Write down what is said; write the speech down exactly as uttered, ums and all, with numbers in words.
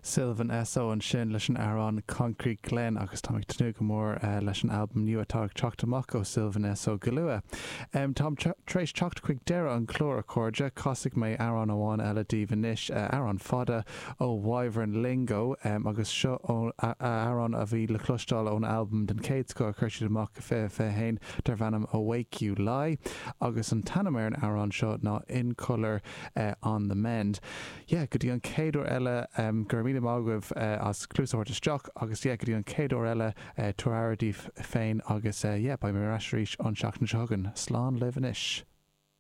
Sylvan Esso ansin leis an amhrán Concrete Glen agus tá ag tnúth go mór uh, leis an albam nua atá ag teacht amach ó Sylvan Esso go luath. Um, Táim tar éis teacht chuig deireadh an chláir a chairde casfaidh mé amhrán amháin eile daoibh anois uh, amhrán fada ó Wyvern Lingo um, agus seo amhrán a bhí le cloisteáil ón albam den chéad scoth a chuir siad amach fiche fiche haon darb ainm Awake You Lie agus an t-ainm ar an amhrán seo ná In Colour uh, on the Mend. Yeah, go dtí an chéad uair eile um, gur mí mágah uh, as clúsart isteach agus yeah, go dtí an chéad uair eile uh, tuair daoibh féin agus uh, yeah, beidh mé ar ais arís an seachtain seo chugainn. Slán libh anois.